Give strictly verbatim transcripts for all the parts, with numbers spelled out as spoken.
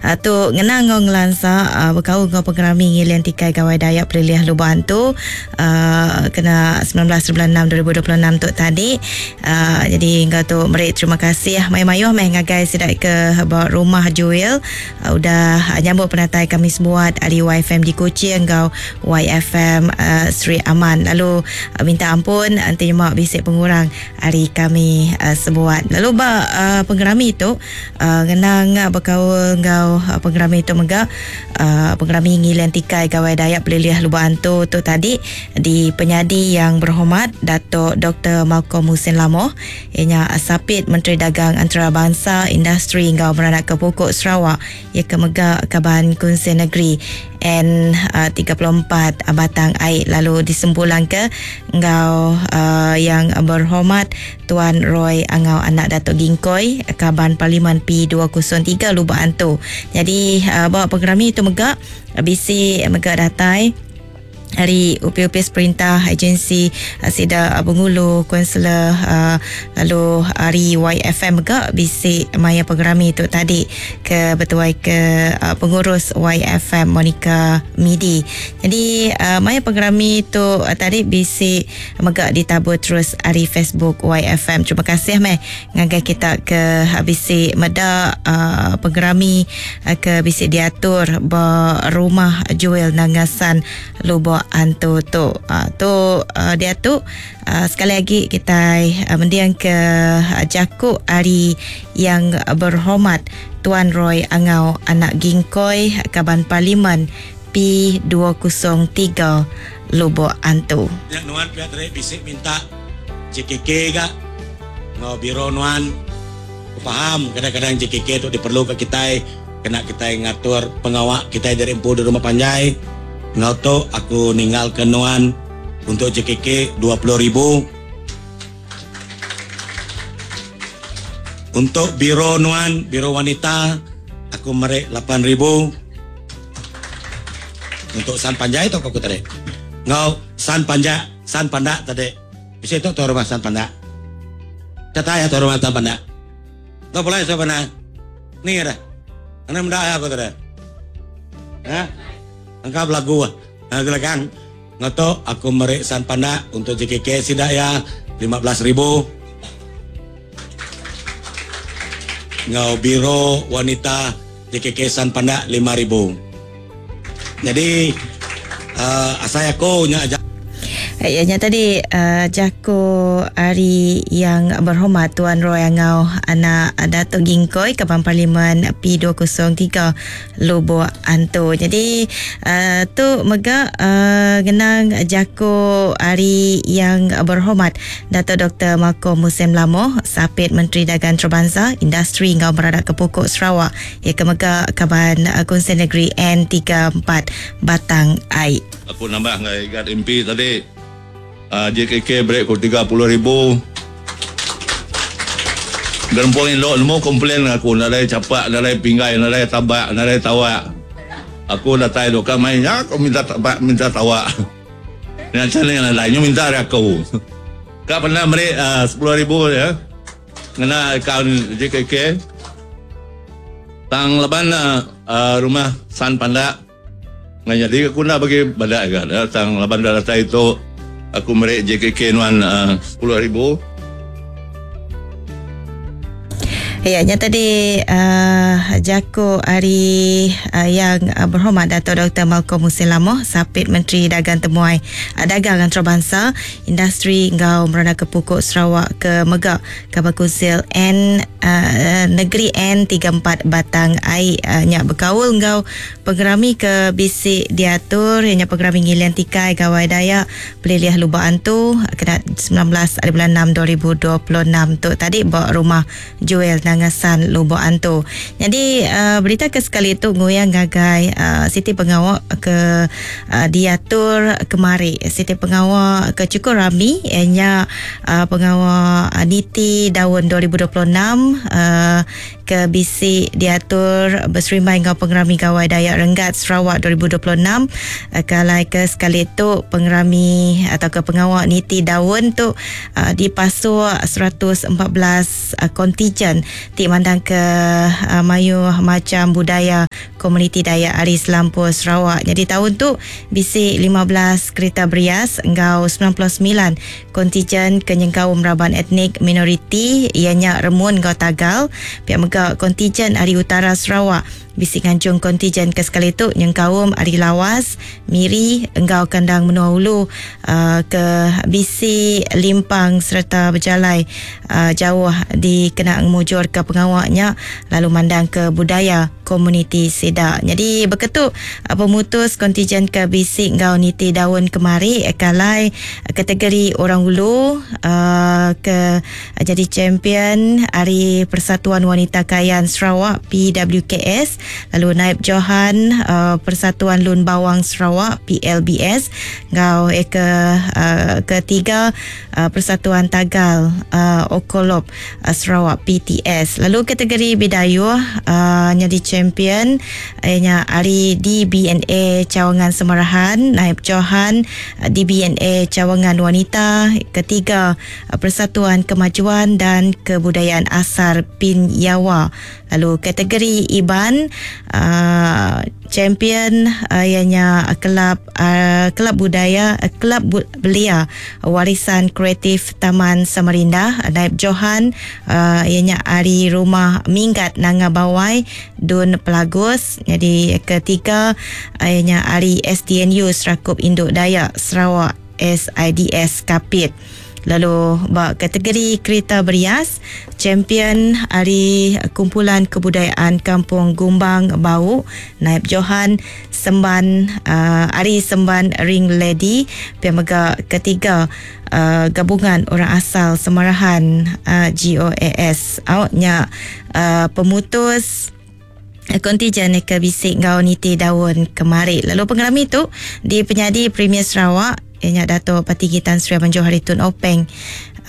Uh, tu ngenang ngau ngelansa uh, berkaul ngau pengerami ngilian tikai Gawai Dayak Pelilih Lubok Antu uh, kena sembilan belas bulan enam dua ribu dua puluh enam tu tadi. Uh, jadi ngau tu meri terima kasih mayuh-mayuh meh ngagai sidak ke ba rumah Joel uh, udah nyambut penatai kami sebuat ari Y F M di Kuching ngau Y F M uh, Sri Aman. Lalu uh, minta ampun nanti mak bisik pengurang hari kami uh, sebuat. Lalu ba uh, pengerami tu uh, ngenang berkaul ngau uh, pengerami tu mega uh, pengerami ngilian tikai Gawai Dayak Pelilih Lubok Antu tu tadi di penyadi yang berhormat Datuk Doktor Malcolm Mussen Lamoh, ianya Sapit Menteri Dagang Antarabangsa Industri ngau Meranak ke Pokok Sarawak, ia ke mega Kaban Kunsil Negeri N tiga puluh empat Batang Ai. Lalu disempulang ke ngau uh, yang berhormat Tuan Roy Angau anak Datuk Gingkoi Kaban Parlimen P dua kosong tiga Lubok Antu. Jadi uh, bawa pengerami itu mega bisi mega datai hari U P U P perintah agensi uh, sida uh, Bengulu konselor uh, lalu hari Y F M mega bisi maya pengerami tu tadi ke bertuai ke uh, pengurus Y F M Monica Midi. Jadi uh, maya pengerami tu uh, tadi bisi mega ditabur terus hari Facebook Y F M. Terima kasih meh ngagai kita ke uh, bisi meda uh, pengerami uh, ke bisi diatur ba rumah Joel Nangasan Lubok Antu tu. Uh, tu uh, dia tu uh, sekali lagi kita uh, mendiang ke uh, Jakub hari yang berhormat Tuan Roy Angau anak Gingkoi Kaban Parlimen P dua kosong tiga Lubok Antu. Ya nuan pihak terik bisik minta J K K gak ngau biro nuan. Aku faham kadang-kadang J K K tu diperlukan kita kena kita ngatur pengawak kita dari empu di rumah panjai. Ngau tu aku ninggal ke nuan untuk J K K dua puluh ribu. Untuk biro nuan, biro wanita, aku merek lapan ribu. Untuk san panjai tu aku tadi. Ngau san panjak, san pandak tadi. Bisa tu tu rumah san pandak. Kata ya tu rumah san pandak. Tu boleh siapa nak? Ni ada. Ana mendak aku tadi. Ha? Angkap lagu ah. Ha, silakan. Ngato aku merek san pandak untuk J K K sidak ya lima belas ribu. Ngau biro wanita J K K san pandak lima ribu. Jadi, uh, asai aku nya aja. Ya, nya tadi uh, Jako Ari yang berhormat Tuan Roy Angau anak Datuk Gingkoi Kaban Parlimen P dua kosong tiga Lubok Antu. Jadi uh, tu mega uh, genang Jako Ari yang berhormat Datuk Doktor Malcolm Mussen Lamoh Sapit Menteri Dagang Antarabangsa Industri Ngau Meradak ke Pokok Sarawak ia ke mega Kaban Kunsil Negeri N tiga empat Batang Ai. Aku nambah ngai Gad M P tadi. Uh, J K K break ku tiga puluh ribu. Gerempung elok nemu komplain aku nadai capak, nadai pinggai, nadai tabak, nadai tawak. Aku datai dok main ya, aku minta tabak, minta tawak. Yang macam ni nadai nyu minta dari aku. Kak pernah beri, uh, sepuluh ribu ya. Ngena akaun J K K. Tang leban, uh, rumah San Pandak. Nganya jadi aku nak bagi badak kan. Tang leban dah datai itu aku merek J K K nuan, uh, sepuluh ribu. Ya, nya tadi uh, Jako Ari uh, yang uh, berhormat Datuk Doktor Malcolm Mussen Lamoh Sapit Menteri Dagang Temuai uh, Dagang Antarabangsa Industri Ngau Meranak ke Pokok Sarawak ke Megak Kaban Kunsil N uh, Negeri N tiga empat Batang Ai uh, nya berkaul ngau pengerami ke bisik diatur nya pengerami ngilian tikai Gawai Dayak Pelilih Lubok Antu kena sembilan belas hari bulan enam dua ribu dua puluh enam tu tadi ba rumah Joel Nangasan Lubok Antu. Jadi uh, berita ke sekali tu nguyang gagai uh, Siti Pengawak ke uh, diatur kemari. Siti Pengawak ke cukup rami nya uh, pengawak uh, Niti tahun dua ribu dua puluh enam uh, ke bisi diatur berserimai dengan pengerami Gawai Dayak Renggat Sarawak dua ribu dua puluh enam. Uh, kalau ke sekali tu pengerami atau ke pengawak Niti Daun tu uh, dipasuk seratus empat belas uh, kontijen ti mandang ke uh, mayu macam budaya komuniti Dayak ari Selampur Sarawak. Jadi tahun tu bisi lima belas kereta berias enggau sembilan puluh sembilan kontijen kenyengkaum raban etnik minoriti ianya Remun enggau Tagal. Pihak mega kontijen ari Utara Sarawak bisi nganjung kontijen ke sekali tu nyengkaum ari Lawas, Miri enggau kandang menua ulu uh, ke bisi limpang serta berjalai uh, jauh dikena ngemujur ke pengawaknya lalu mandang ke budaya komuniti sida. Jadi beketu uh, pemutus kontijen ke bisi enggau niti daun kemari kalai kategori orang ulu uh, ke uh, jadi champion ari Persatuan Wanita Kayan Sarawak P W K S, lalu Naib Johan uh, Persatuan Lun Bawang Sarawak P L B S ngau eh, ke uh, ketiga uh, Persatuan Tagal uh, Okolop uh, Sarawak P T S. Lalu kategori Bidayuh uh, jadi champion ianya ari D B N A Cawangan Semarahan, Naib Johan uh, D B N A Cawangan Wanita, ketiga uh, Persatuan Kemajuan dan Kebudayaan Asar Pin Yawa. Lalu kategori Iban uh, champion uh, ianya kelab uh, kelab budaya uh, kelab bu- belia Warisan Kreatif Taman Samarinda, Naib Johan uh, ianya ari Rumah Minggat Nanga Bawai Dun Pelagus. Jadi ketiga uh, ianya ari S D N U Serakup Induk Dayak Sarawak S I D S Kapit. Lalu bak kategori kereta berias champion ari Kumpulan Kebudayaan Kampung Gumbang Bau, Naib Johan Semban uh, ari Semban Ring Lady, pihak mega ketiga uh, Gabungan Orang Asal Semarahan uh, G O A S. Awaknya uh, pemutus kontijen ke bisik ngau niti daun kemari. Lalu pengerami tu di penyadi Premier Sarawak ianya Dato' Patinggi Tan Sri Abang Johari Tun Openg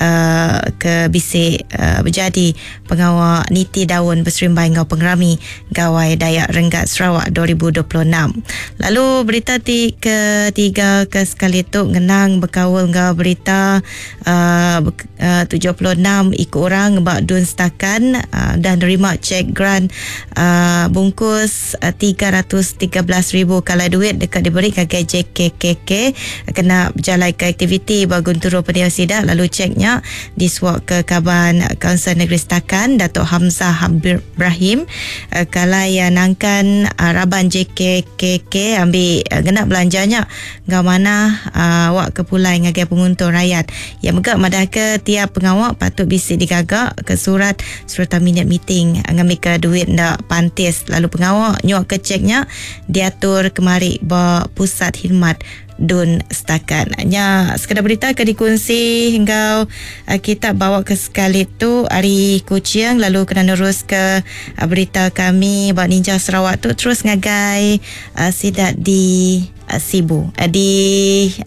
uh, ke bisik uh, berjadi pengawal niti daun berserimbai ngau pengerami Gawai Dayak Renggat Sarawak dua ribu dua puluh enam. Lalu berita ti ketiga ke sekali tu ngenang berkaul ngau berita uh, uh, tujuh puluh enam ikut orang bak Dun Stakan uh, dan nerima cek grant uh, bungkus uh, tiga ratus tiga belas ribu kala duit dekat diberi ke J K K K kena berjalan ke aktiviti Bagunturo Pendiau Sidak. Lalu ceknya disuap ke Kaban Kaunsil Negeri Stakan Datuk Hamzah Ibrahim uh, kalai uh, nangkan uh, raban J K K K ambil uh, genap belanjanya ngau mana uh, awak ke pulai ngagai penguntung rakyat. Yang megak madah ke tiap pengawak patut bisik digagak ke surat serta minit meeting ngambil ke duit ndak pantis. Lalu pengawak nyuak ke ceknya diatur kemari ba pusat khidmat Dun Stakan. Nya sekadar berita ke dikongsi hingga uh, kita bawa ke sekali tu ari Kuching, lalu kena nerus ke uh, berita kami bak Ninja Sarawak tu terus ngagai uh, sidak di uh, Sibu. Uh, di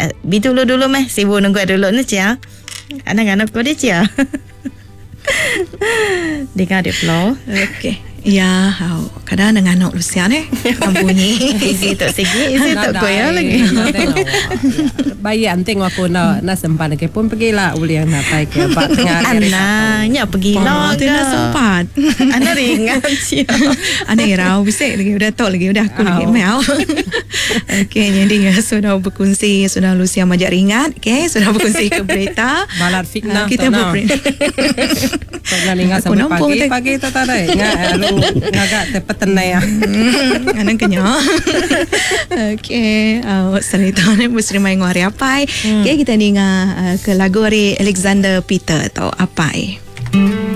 uh, Bintulu dulu meh, Sibu nunggu dulu ni cia. Anak-anak ko dia cia. Dengar dia flow. Okey. Ya, hau. Kadang dengan anak Lucia ni, bunyi. Isi tak segi, isi tak koya lagi. Bayi anting aku nak nak sempat lagi pun pergilah uliang nak tai ke pak tengah. Ana, nya pergilah. Tu nak sempat. Ana ringan cia. Ana irau bisik lagi udah tok lagi udah aku lagi mau. Okey, jadi ya sudah berkongsi, sudah Lucia majak ringat, okey, sudah berkongsi ke berita. Balat fitnah. Kita berberita. Tak ingat sampai pagi, pagi tak ada. Ingat lalu ngagak tepat tenai. Anang kenya. Okey, uh, cerita ni mesti main ngari apai. Okey, kita dengar uh, ke lagu dari Alexander Peter atau Apai.